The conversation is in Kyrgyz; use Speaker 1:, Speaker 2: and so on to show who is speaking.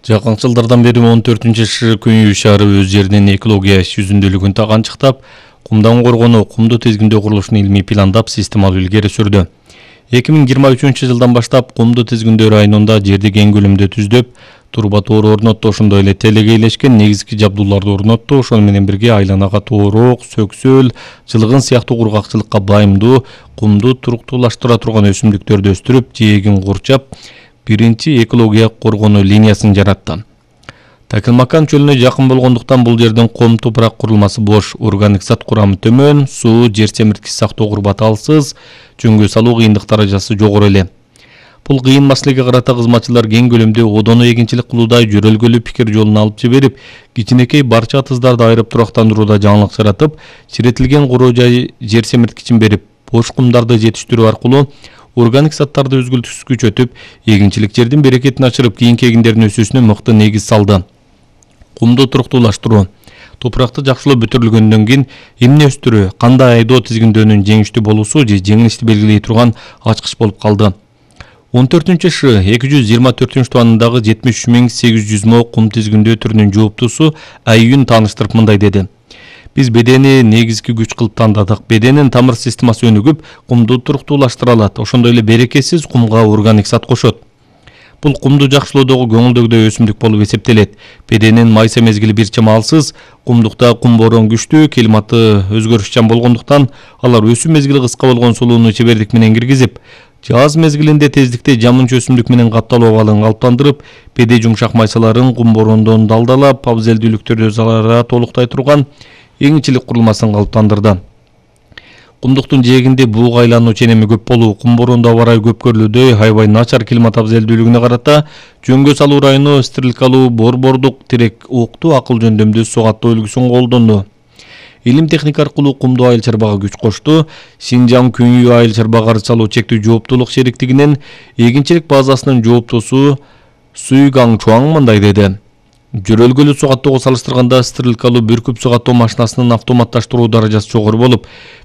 Speaker 1: Жакынкы жылдардан бери 14-шы Күнүй шаары өз жеринин экология жүзүндүүлүгүн таганчыктап, кумдан коргонуу, кумду тизгиндөө курулушун илмий пландап, системалуу илгери сүрдү. 2023-жылдан баштап кумду тизгиндөө районунда жерди кең көлөмдө түздөп, турба тоору орнотту, ошондой эле телегейлешкен негизги жабдууларды орнотту. Ошону менен бирге айланага тоорок, сөксөл, жылгын сыяктуу кургакчылыкка байымдуу, кумду туруктуулаштыра турган өсүмдүктөрдү өстүрүп, жээгин курчап, биринчи экология коргонуу линиясын жаратты. Такылмакан чөлүнө жакын болгондуктан бул жердин ком топурак курулмасы бош, органик зат курамы төмөн, суу, жер семирткич сактоо курбаты алсыз, жөнгө салуу кыйындык даражасы жогору эле. Бул кыйын маселеге карата кызматчылар кең көлөмдө одону эгинчилик кылууда жөрөлгөлүү пикир жолун алып жиберип, кичинекей барча атыздарды айырып турактандырууда жаңылык жаратып, чиретилген куроо жай жер семирткичин берип, бош кумдарды жетиштирүү аркылуу органик заттарды өзгөлтүксүз күчөтүп, эгинчилик жердин берекетин ачырып, кийинки эгиндердин өсүүсүнө мыкты негиз салды. Кумду туруктуулаштыруу, топуракты жакшылоо бүтүрүлгөндөн кийин эмне өстүрүү, кандай айдоо тизгиндөөнүн жеңиштүү болуусу же жеңилишти белгилей турган ачкыч болуп калды. 14-шы 224-тубанындагы 73.800 мо кум тизгиндөө түрүнүн жооптусу Айюн тааныштырып мындай деди. Биз бедени негизги күч кылып тандадык. Беденин тамыр системасы өнүгүп, кумду туруктуулаштыра алат. Ошондой эле берекесиз кумга органик зат кошот. Бул кумду жакшылоодогу көңүлдөгүдөй өсүмдүк болуп эсептелет. Беденин майса мезгили бир чама алсыз, кумдукта кум борон күчтүү, климаты өзгөрүшчан болгондуктан алар өсүү мезгили кыска болгон сулууну чебердик менен киргизип, жаз мезгилинде тездикте жамынча өсүмдүк менен катталуу абалын калыптандырып, беде жумшак майсаларын кум борондон далдалап, абзелдүүлүктөрдү өзара толуктай турган эгинчилик курулмасын калыптандырды. Кумдуктун жээгинде бууга айлануу ченеми көп болуу, кум борондо аба ырайы көп көрүлүүдөй аябай начар климат абзелдүүлүгүнө карата жөнгө салуу району стрелкалуу борбордук тирек окту акыл жөндөмдүү суу каттоо үлгүсүн колдонду. Илим техника аркылуу кумду айыл чарбага күч кошту. Шинжаң Күнүй айыл чарбага каржы салуу чектүү жооптуулук шериктигинин эгинчилик базасынын жооптусу Суй Гаң Чуаң мындай деди. Жөрөлгөлүү суу каттоого салыштырганда стрелкалуу бүркүп суу каттоо машинасынын автоматташтыруу даражасы жогору болуп,